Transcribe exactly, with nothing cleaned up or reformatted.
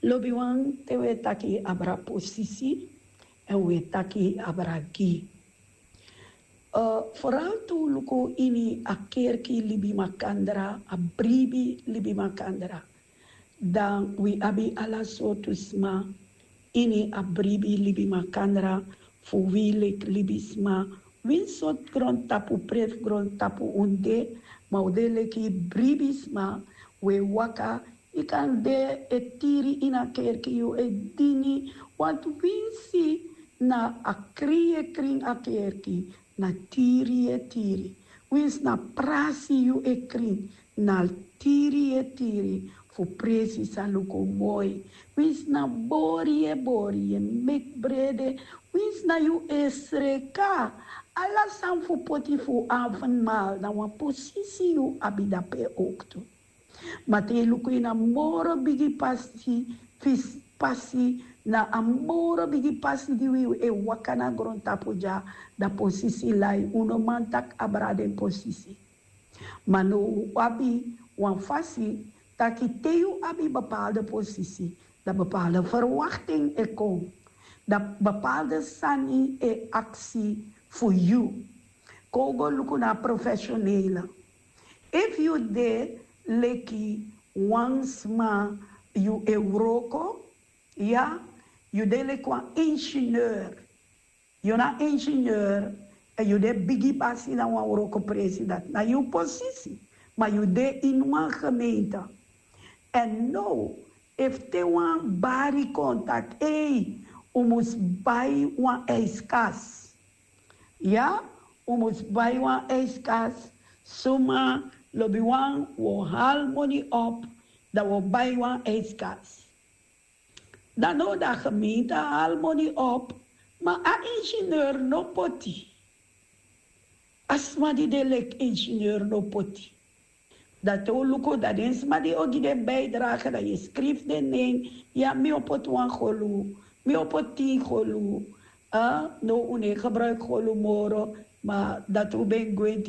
Lobiwan, te wi e taki abra posisi, èn wi e taki abra gi. Foral tu luku ini a kerki libi makandra, a bribi libi makandra. Dan wi abi ala sortu sma ini a bribi libi makandra, fu wi leki libisma. Winsi sortu grontapu, presi grontapu un de, ma un de leki bribisma. Wi e waka, yu kan de e tiri ini a kerki, yu e dini. Want winsi na a krin yu e krin a kerki, na tiri yu e tiri. Winsi na prasi yu e krin, na tiri yu e tiri, fu presi sa luku moi. Winsi na bori yu e bori, yu e meki brede. Winsi na yu e sreka, ala sani fu poti fu avondmaal, na wan posisi yu abi dape owktu. Ma te yu luku ini a moro bigi pasi, fisi pasi, na a moro bigi pasi di wi e waka na grontapu dya, dan posisi lai. Un no man taki abra den posisi. Ma now un abi wan fasi taki te yu abi bepaalde posisi, dan bepaalde verwachting e kon, dan bepaalde sani e aksi fu yu. Kon un go luku na a professionele. Efu yu de leki wan sma, yu e wroko, ya, yu de leki wan ingenieur. Yu na ingenieur, èn yu de bigi basi na wan wrokopresi, dati na yu posisi. Ma yu de ini wan gemeente. Èn now, efu te wan bari kon taki, ei, un mus bai wan ijskas. Ya, un mus bai wan ijskas. Suma, lobiwan, wi o hali moni op, dan wi o bai wan ijskas. Dan now dan gemeente hali moni op, ma a ingenieur no poti. A sma di de leki ingenieur no poti. Dan te un luku, dan den sma di o gi den bijdrage, dan yu e skrifi den nen. Ya, mi o poti wan golu, mi o poti tin golu. Ah, now un no e gebruiki golu moro, ma dati un ben gwenti.